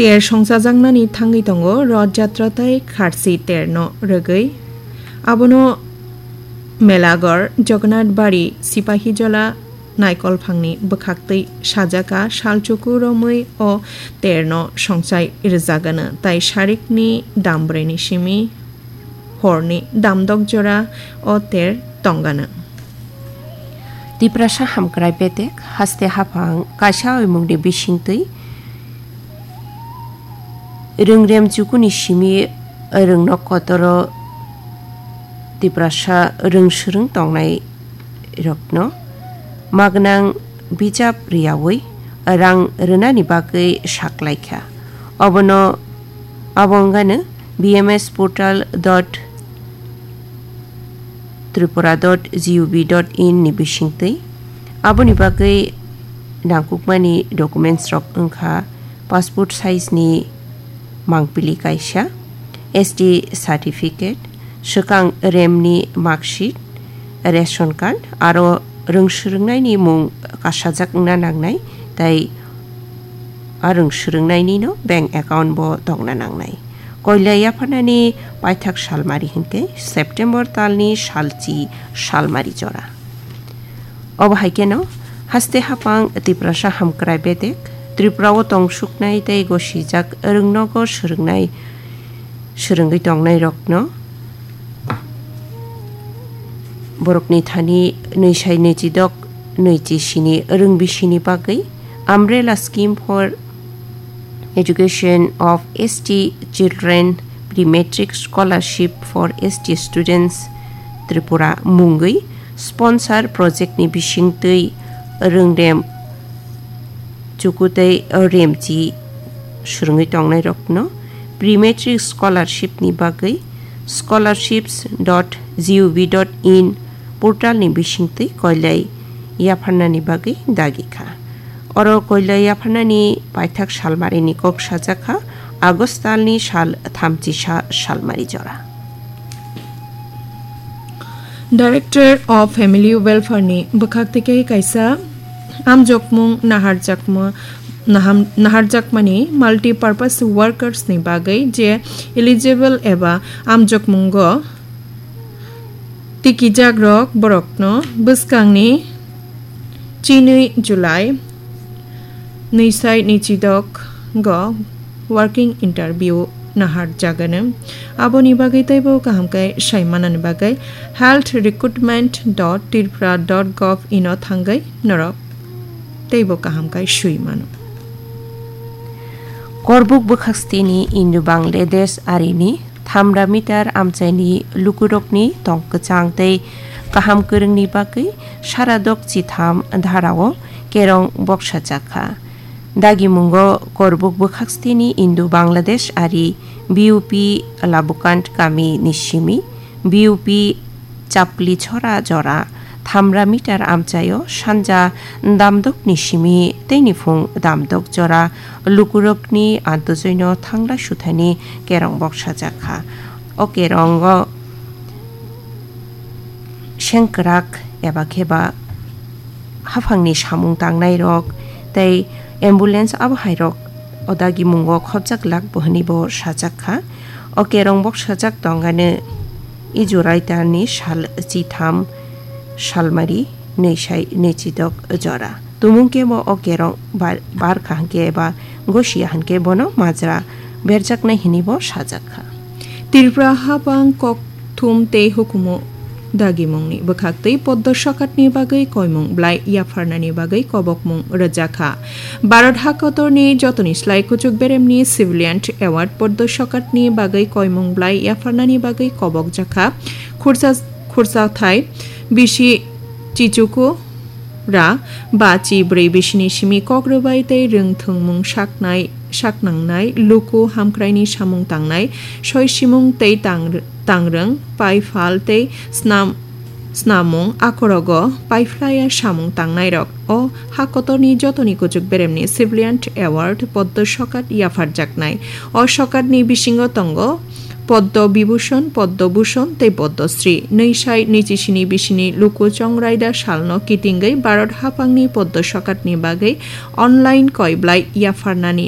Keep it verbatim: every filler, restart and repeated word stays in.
Ter songchajaknani thangwi tongo Roth Jatra tei Kharsi terno rwgwi. Abono Melagor, Jagannath Bari, Sipahijola, Naikolphangni bwkhaktwi sajaka salchuku romwi o terno songchai rwjagano, tai sarikni dambreni simi horni damdok jora o ter tongano. Tiprasa hamkrai bedek haste haphang kaisa oimungni bisingtwi rwngrem chukuni simi rwngnok kotoro Tiprasa rwngswrwng tongnai rokno magwnang bijap riyawi rang rwnani bagwi saklaikha. Obono, abo wngano B M S portal dot tripura dot G O V dot in ni bisingtwi. Aboni bagwi nangkukmani documents rok wngkha passport size ni mangpili kaisa, S T certificate, swkang remni marksheet, ration card, aro rwngswrwngnaini mung kasajak wngna nangnai, tei a rwngswrwngnainino bank account bo tongna nangnai. Koilai yapharnani paithak salmari hinkhe September talni salchi salmari jora. Obo hai kheno haste haphang Tiprasa hamkrai bedek, Tripura o tongsuknai tei gosijak rwngnogo swrwngnai, swrwngwi tongnai rokno borokni thani nwisai nwichidok nwichi sini rwng bisini bagwi Umbrella Scheme for Education of S T Children, Pre-Matric Scholarship for S T Students Tripura mungwi sponsor project ni bisingtwi rwngrem chukutei remchi swrwngwi tongnai rokno Pre-Matric Scholarship ni bagwi scholarships dot G O V dot in portal ni bisingtwi koilai yapharnani bagwi dagi kha. Oro koilai yapharnani paithak salmarini kok sajak kha, August talni sal thamchi sa salmari jora. Director of Family Welfare ni bwkhak tei kaisa amjokmung naharjakma, naham-, naharjakmani multi-purpose workers ni bagwi je eligible eba amjokmungo tikijakrok borokno bwskangni chinwi July nwisai nwichidok go working interview naharjagano. Aboni bagwi teibo kaham khe sai manani bagwi health recruitment dot tripura dot gov ino thangwi norok teibo kaham khe sui mano. Korbuk bwkhakstini Indo-Bangladesh arini thamra meter amchaini lukurokni tong kwchang tei kaham kwrwngni bagwi saradok chitham dharao kerong boksajak kha. Dagimungo Korbuk bwkhakstini Indo-Bangladesh ari B U P Labukant kami ni simi B U P Chapli chora jora thamra meter amchaio sanja damdokni simi teini phung damdok jora lukurokni antojoino thangla suthani kerong boksajak kha. O kerongo sengkrak eba kheba haphangni samung tangnairok tei ambulance abohairok o dagimungo khopjak lak bo hwnwi bo sajak kha. O kerong boksajak tongano Ijurai talni sal chitham salmari nwisai nwichidok jora. Tumung kebo o kerong bar, bar kha hwnkhe eba gosiya hwnkhe bono majra berjaknai hwnwi bo sajak kha. Tripura habang kok thum tei hukumu dagimungni bwkhaktwi poddo sokatni bagwi koimung blai yapharnani bagwi kobokmung rwjakha. Bharat hakotorni jotoni slai kuchuk beremni civilian award poddo sokatni bagwi koimung blai yapharnani bagwi kobokjakha. Khursa, khursa thai bisi chichuku ra ba chi bwrwi bisini simi kok rwbai tei rwngthwngmung saknai, saknangnai, luku hamkraini samung tangnai, soi simung tei tang, tangrwng, pai phal tei snam, snamung, akhorogo paiphlaiya samung tangnairok. O ha kotorni jotoni kuchuk beremni civilian award poddo sokat yapharjaknai. O sokatni bisingo tongo Poddo Bibhushon, Poddo Bhushon tei Poddo Shri. Nwisai nwichi sini bisini luku chongraida salno kitingwi Bharat haphangni poddo sokatni bagwi online koiblai yapharnani